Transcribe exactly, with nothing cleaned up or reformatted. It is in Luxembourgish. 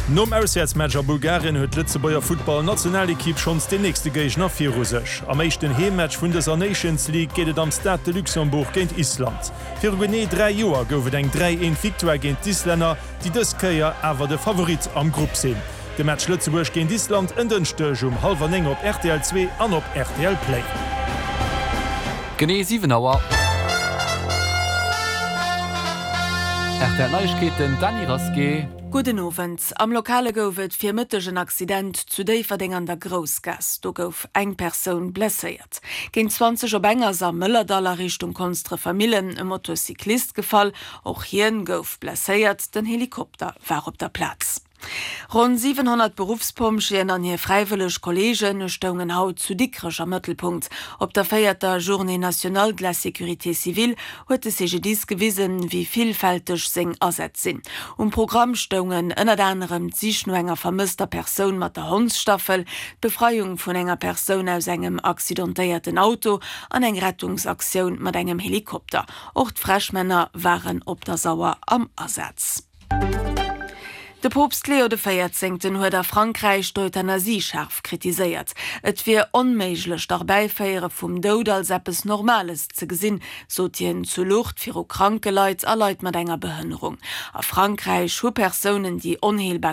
Nom Auswäertsmatch a Bulgarien huet d'Lëtzebuerger Futtballnationalekipp schonns den nächste Géigner viru sech. Am éischten Heemmatch vun dëser Nations League geet et am Stade de Luxembourg géint Island. Viru genee dräi Joer gouf et eng dräi-eent-Victoire géint d'Islänner, déi dës Kéier awer de Favorit am Grupp sinn. De Match Lëtzebuerg géint Island en Dënschdeg um hallwer néng op R T L zwee an op R T L Play. Genee siwen Auer. R T L Neiegkeeten, Dany Rasqué. Gudden Owend. Am Lokale gouf et Virmëtteg en Accident zu Déifferdeng an der Groussgaass. Do gouf eng Persoun blesséiert. Géint zwanzeg op eng ass am Mëllerdall a Richtung Konsdrefer Millen e Motocyclist gefall. Och hien gouf blesséiert. Den Helikopter war op der Plaz. Ronn siwenhonnert Beruffspompjeeën an hir fräiwëlleg Kolleege stoungen haut zu Dikrech am Mëttelpunkt. Op der véierter Journée nationale de la sécurité civile huet de C G D I S gewisen, wéi villfälteg seng Asätz sinn. Um Programm stoungen ënnert anerem d'Sich no enger vermësster Persoun mat der Hondsstaffel, d'Befreiung vun enger Persoun aus engem accidentéierten Auto an eng Rettungsaktioun mat engem Helikopter. Och d'Fräschmänner waren op der Sauer am Asaz. De Poopst Leo de Véierzéngten huet a Frankräich d'Euthanasie schaarf kritiséiert. Et wier onméiglech, d'Erbäiféiere vum Doud als eppes Normales ze gesinn, sot hien zu Lourdes viru kranke Leit a Leit mat enger Behënnerung. A Frankräich hu Persounen, déi onheelbar